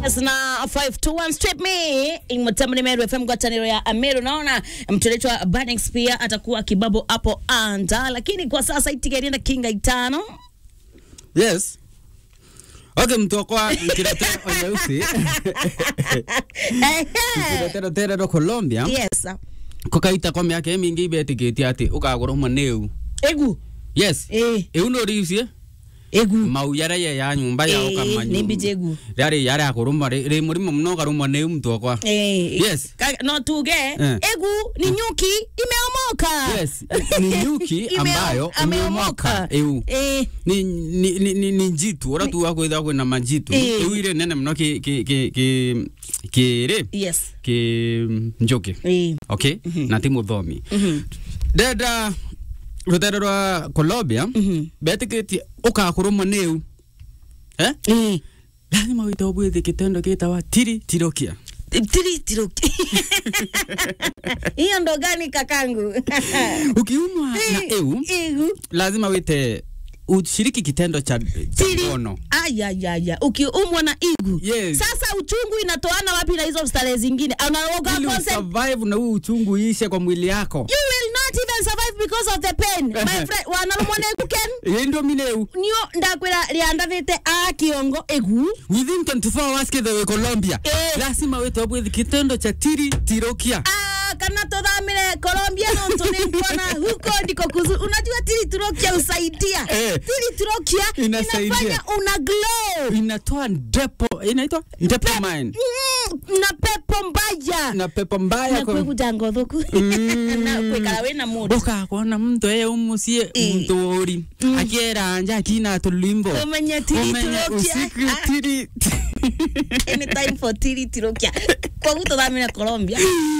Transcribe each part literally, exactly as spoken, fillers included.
Yes, na five two one strip me. Mutamani Meru F M, ngwataniro ya Ameru. Naona mtu anaitwa Burning Spear atakuwa kibabu hapo anda, lakini kwa sasa itigerie na kinga itano. Yes. Okay, mtu wakwa, nkirete onyeusi. Ehe. Nkirete rotere ro Colombia. Yes. Kukaita kwa miaka imingi ibetikitie ati ukagurumwa ni iu. Igu? Yes. Eh. Iu no riusie? Igu. Mau yara ye ya nyumba ya, eh, ukamanyu. Ni mbiji igu. Yari, yari akurumwa, ri, ri murimo muno ukarumwa ni iu mtu wakwa. Eh. Yes. Ka-, no tuge, eh, igu ni nyuki imeomoka. Yes, ni nyuki ambayo ameomoka. Iu. Eh. Ni, ni, ni, ni, ni njitu, ura tu wa kwithirwa kwina manjitu. Eh. Iu iri nene muno ki, ki, ki, ki, ki ri? Yes. Ki njuki. Eh. Okay? Mhm. Na ti muthomi. Mhm. Ndenda rutere rwa Colombia, mhm, betikitie ukakurumwa ni iu. Eh? Eh. Lazima wite ubwithe kitendo gitawa tiri tirokia. Tiri tirokia. Hiyo ndo gani, kakangu? Ukiumwa na iu, iu, lazima wite ushiriki kitendo cha, cha ngono. Aya, ya, ya. Ukiumwa na igu. Yes. Sasa uchungu inatoana wapi na hizo starehe zingine? Unaroga. Ili usurvive na huu uchungu iishe kwa mwili yako. You will not even survive because of the pain. My friend, wanarumwa na igu, Ken? Ii, ndio mine iu. Nio ndakwira riandathite a kiongo igu. Within twenty-four hours kethira wi Colombia. Eh. Lazima wite ubwithe kitendo cha tiri tirokia. Ah, kana tuthamire Colombia nontu ni nkuona huko ndiko kuzuri. Unajua tiri tirokia husaidia. Eh. Tiri tirokia inasaidia. Inafanya una glow. Inatoa ndepo, inaitwa dopamine. Mm, na pepo mbaya. Na pepo mbaya. Na kwa kwiguja ngothuku. Mm. Na kwikara wina mood. Ukakwona muntu e umucii, eh, muntu uri. Mm. Akiera nja akina tulimbo. Umenye tiri tirokia. Umenye usiku tiri. Any time for tiri tirokia. Koguo tuthamire Colombia.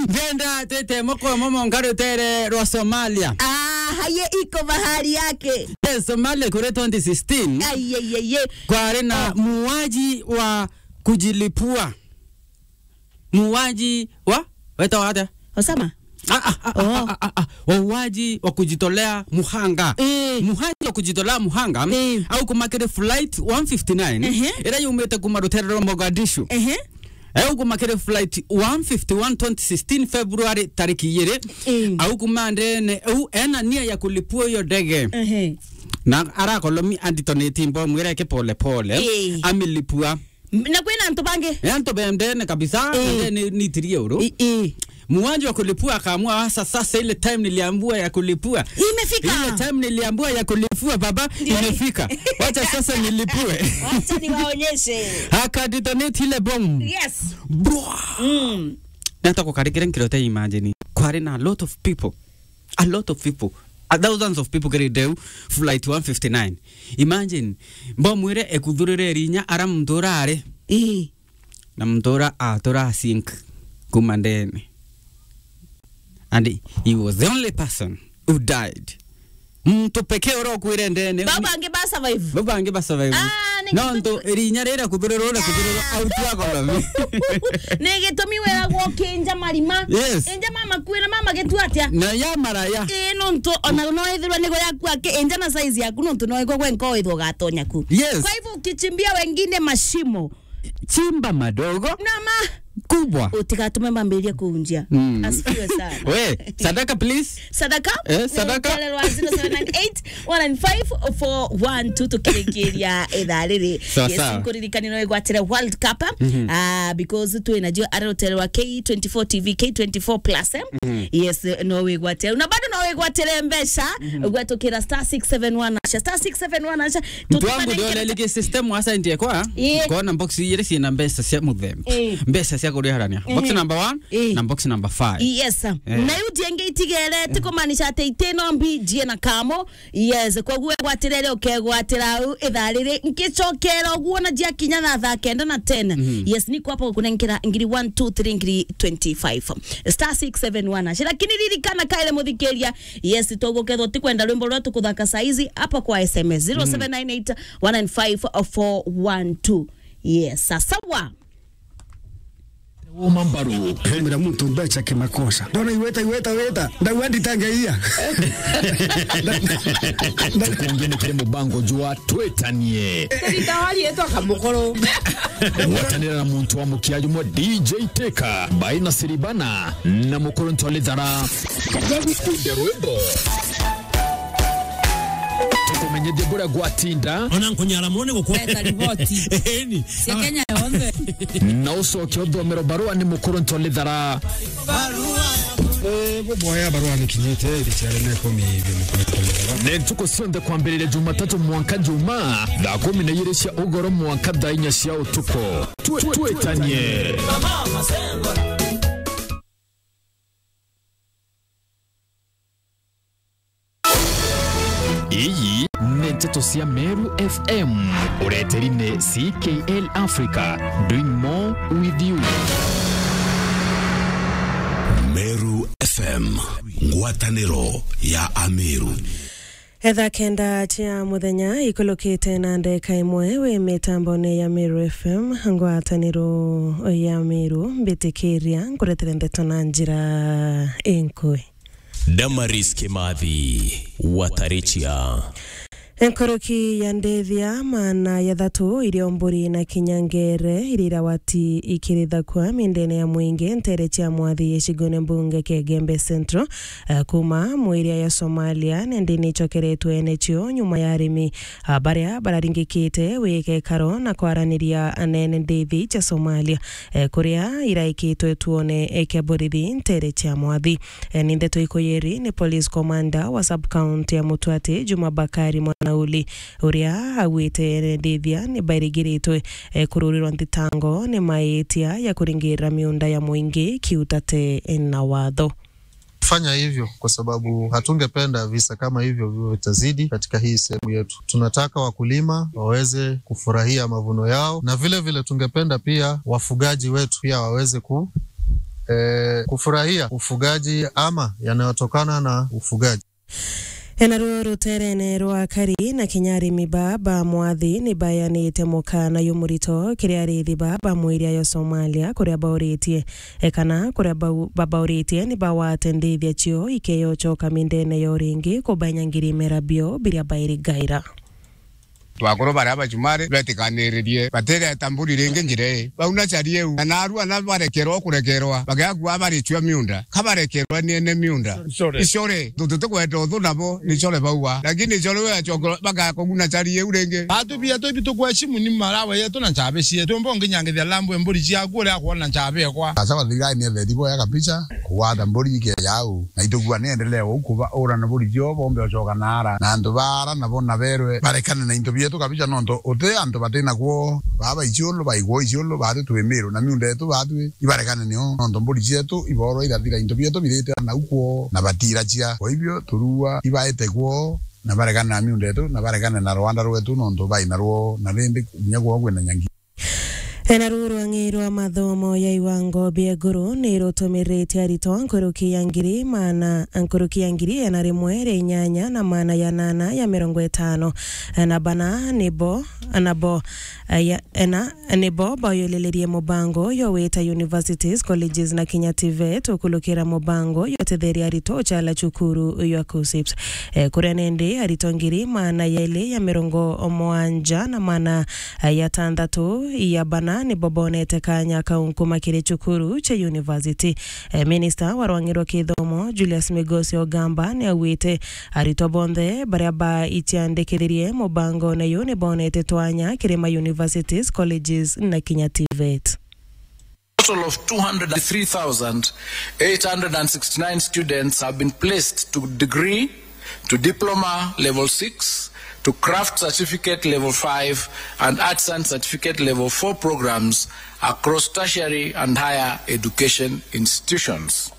Ndenda twite moko momo nkarutere rwa Somalia. Ah, haye iko bahari yake. Yes, Somalia kuri twenty sixteen. Ai, ai, ai, ai. Kwari na, oh, muuaji wa kujilipua. Muuaji wa, wetagwa atia? Osama? Ah, ah, ah, oh, ah, ah, ah, ah. Wauaji wa kujitolea muhanga. Eh. Muuaji wa kujitolea muhanga, eh, aukumakire flight one fifty-nine, ehe, iria yumite kuma rutere rwa Mogadishu. Ehe. Aukumakire flight one fifty-one twenty sixteen February tariki igiri. Eh. Aukuma ndene, au ena nia ya kulipua hiyo ndege. Ehe. Na arakolomi anditoneti mbomu ireke pole pole. Eh. Amilipua. M-, na kwina antu bangi? E, antu bendene kabisa, eh, na ndene nitirie uru. I, i. Muuaji wa kulipua akaamua, "Sasa, sasa ile time niliambiwa ya kulipua. Imefika. Ile time niliambiwa ya kulipua, baba, ndio imefika. Wacha sasa nilipue." Wacha niwaonyeshe. Akadetonate ile bomu. Yes. Bwa! Mm. Nata kukarikira nkirote, imagine. Kwari na a lot of people. A lot of people, a thousands of people kiri ndeu flight one fifty-nine. Imagine, mbomu ire ekuthurire rinya ara muntu urari. Ii. Na muntu ura atura sink kuma ndene. And he was the only person who died. Muntu pekee ura ukwire ndene. Bau bangi ba survive. Bau bangi ba survive. Ah, ni no gitumi ntu rinya rira kuthurirwo na kuthurirwo, ah, out ya economy. Ni gitumi wiragwo kinja marima. Yes. Inja mama kwira mama gitu atia? Na ya maraya. Ii, nontu ona no ithirwa nigo yaku aki, inja na size yaku, nontu no igwe gwenka withwa ugatonya ku. Yes. Kwa hivyo ukichimbia wengine mashimo, chimba madogo. Na ma- kubwa. Utigatume mambirie kuunjia. Mm. Asifiwe sana. We, sadaka, please. Sadaka? Eh, sadaka? Rutere rwa zero seven nine eight, one nine five, four one two tukirikiria ithaa riri. Sawa, yes, sawa. Nkuririkanie no igwatire World Cup, mhm, ah, because twina jio ari rutere rwa K twenty-four T V, K twenty-four plus, eh? Mhm. Yes, no wigwatire. Na bado no wigwatire mbeca, mhm, gwatukira star six seven one hash, star six seven one hash. Mtu wangu ndio lelike system wa science kwa, eh, kona box igiri ciina mbeca cia muthemba. Eh. Mbeca cia kuriharania. Box, eh, number one, eh, na box number five. Yes, sir. Eh. Na yu jengi itigere, eh, tikumaanisha ati itino mbi jie na kamo. Yes, koguo egwatire ri, ukegwatira au ithaa riri. Nkicokera uguo na jia kinya na thaa kenda na ten. Mhm. Yes, ni kwapa kunenkera ngiri one, two, three, ngiri twenty-five. Star six seven one hash. Lakini ririkana kaire muthikiria, yes, tugukethwa tikwenda rwimbo rwa tukuthaka saizi hapa kwa S M S, mm, zero seven nine eight, one nine five, four one two. Yes, sawa. Uma mbaru. Kamira muntu mbeca kimakosa. Ndona iweta, iweta, weta. Ndauga nditangeia. Tukungi ni kiri mubango jwa Twitanie. Tũrita wariĩtwa kamũkũrũ. Ngwatanĩra na muntu wa mũkia jumwe D J Teka, Baina Siribana, na mũkũrũ Ntwalithara. Gukunde rwimbo. Tukumenyithie buria gwatinda. Ona nkunyara mone gukwa. Eta riboti. Eni. Cia Kenya yonthe. Na ucoke uthomero barua ni mukuru Ntolithara. Eh, buboya barua ni kinyite iri ciare ne kumi ibio ni kumi. Ni ntuku cionthe kwambiriria Jumatatu mwanka Juma, thaa kumi na igiri cia ugoro mwanka thaa inya cia utuku. Twe-, twetanie. Iyi ni nteto cia Meru F M. Ureteri ni C K L Africa, doing more with you. Meru F M, ngwataniro ya Ameru. Etha kenda cia muthenya ikulukite na ndeka imwe wi mitambone ya Meru F M, ngwataniro ya Meru, mbitikiria nkuretere ndeto na njira inkui. Damaris Kimathi, Watarichia. Nkuruki ya ndithia maana ya thatu irio mburi na kinya ngere iria irawati ikirithakua mindene ya mwingi ntere cia mwathi gicigone mbunge kia Gembe Central, eh, kuma mwiria ya Somalia, nindi nicokeretwe ene cio nyuma ya arimi, ah, baria bararingikite wikekaro na kwaraniria anene ndithi cia Somalia, eh, kuria iraikitwe tuone, eh, kia borithi ntere cia mwathi. Eh, ni ndeto ikuyiri ni police commander wa sub-county ya Mutwati, Juma Bakari Mwanauli, uria augite ene ndithia ni bairigiritwe, eh, kururirwa nthitango ni maitia ya kuringirira miunda ya mwingi kiutate na watho. Fanya hivyo kwa sababu hatungependa visa kama hivyo viwe vitazidi katika hii sehemu yetu. Tunataka wakulima waweze kufurahia mavuno yao, na vile vile tungependa pia wafugaji wetu pia waweze ku-, eh, kufurahia ufugaji ama yanayotokana na ufugaji. Enaruo ruterene rwa akari na kinya arimi ba, ba mwathi ni bayanite mukana yumurito kiri arithi ba, ba mwiria ya Somalia, kuria bauritie, e, kana kuria bau-, babauritie ni bawate ndithia cio ikeyocoka mindene yo ringi kubanyangiri mera bio biria bairigaira. Twakuru baria bacumari betikaniririe, batireta mburi ringi njira ii. Bau na cari iu, na narua na barekerwa kurekerwa, bagakua baricua miunda, ka barekerwa ni ene miunda. Icore. Icore, tu-, tutikwenda uthu nabo, ni icore baua. Lakini icore we acoka, bagakuguna cari iu ringi. Atu bia tu bitu kweshimu ni marawe yetu na nchabe cietu. Mbo nginya ngithia lambu mburi ciaku uria akwona nchabe ekwa. Sasa wathira ni etheti boya kabisa, kuwata mburi ike yau. Na itugua ni endelee uu kuba ura na buri cio bombe ucoka naara. Na antu baara nabo na berwe barekane na into bietu kabisa, nontu uti antu bati na kwoo. Baba iciulu, baigwo iciulu, batu twi Miru, na miunda yetu batu i, ibarekane nio, nontu mburi cietu iborwa irathira, into bietu birite nau kwoo, na batiracia. Kwa hivyo, turua ibaite kwoo, na barekane na miunda yetu, na barekane na rwanda rwetu, nontu bai na rwo, na rindi kinya kwoo kwina nyangi. Ena ruu rwang'i rwa mathomo ya iwango bia iguru ni rutumirite aritwa nkuruki ya ngiri maana, nkuruki ya ngiri ena rimwe ria inyanya na maana ya nana ya mirongo itano na bana nibo, nabo, eh, ya, ena, nibo bayulilirie mubango yo wita universities, colleges na kinya TVET ukulukira mubango yo tetheria aritwa uchala cukuru ya KUCCPS. Eh, kuria nindi aritwa ngiri maana ya ili ya mirongo mwanja na maana ya tandatu ya bana nibo bonete kanya kau nkuma kiri cukuru cia university. Eh, minista wa rwang'i rwa kithomo, Julius Migosi Ogamba, ni augite aritwa bonthe baria baiciandikithirie mubangone uyu ni bonete twanya kiri ma universities, colleges na kinya TVET. Total of two hundred three thousand eight hundred and sixty-nine students have been placed to degree, to diploma level six, to craft certificate level five, and artisan certificate level four programs across tertiary and higher education institutions.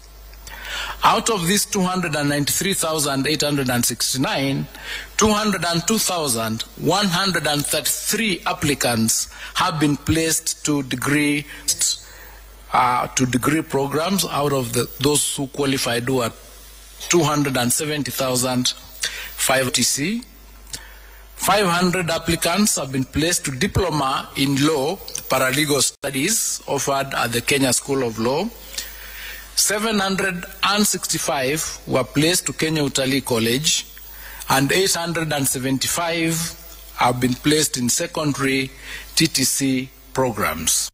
Out of these two hundred and ninety-three thousand eight hundred and sixty-nine, two hundred and two thousand one hundred and thirty-three applicants have been placed to degree, uh, to degree programs. Out of the, those who qualified, who are two hundred and seventy thousand five T C, Five hundred applicants have been placed to diploma in law, paralegal studies offered at the Kenya School of Law. Seven hundred and sixty-five were placed to Kenya Utalii College, and eight hundred and seventy-five have been placed in secondary T T C programs.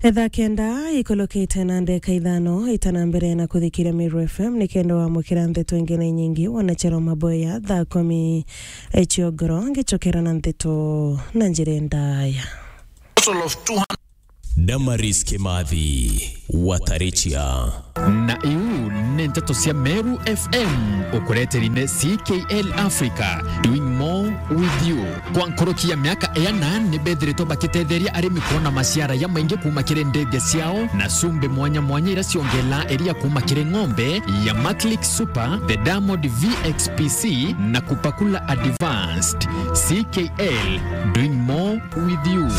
Thaa kenda ikulukite na ndeka ithano, itana mbere na kuthikiria Meru F M, ni kenda wamukira ndeto ingi na inyingi, wanachero maboya thaa kumi ciogoro, ngicokera na ndeto na njira ndaya. Total of two hundred. Damaris Kimathi, Watarichia. Na iu ni nteto cia Meru F M, ukureteri ni C K L Africa, doing more with you. Kwa nkuruki ya miaka iana, ni bethiritwe bakitetheria arimi kwona maciara ya maingi kuuma kiri ndege ciao na cumbi mwanya mwanya iria ciongelaa iria kuuma kiri ng'ombe ya Maclick Super, the Diamond V X P C na Kupakula Advanced. C K L, doing more with you.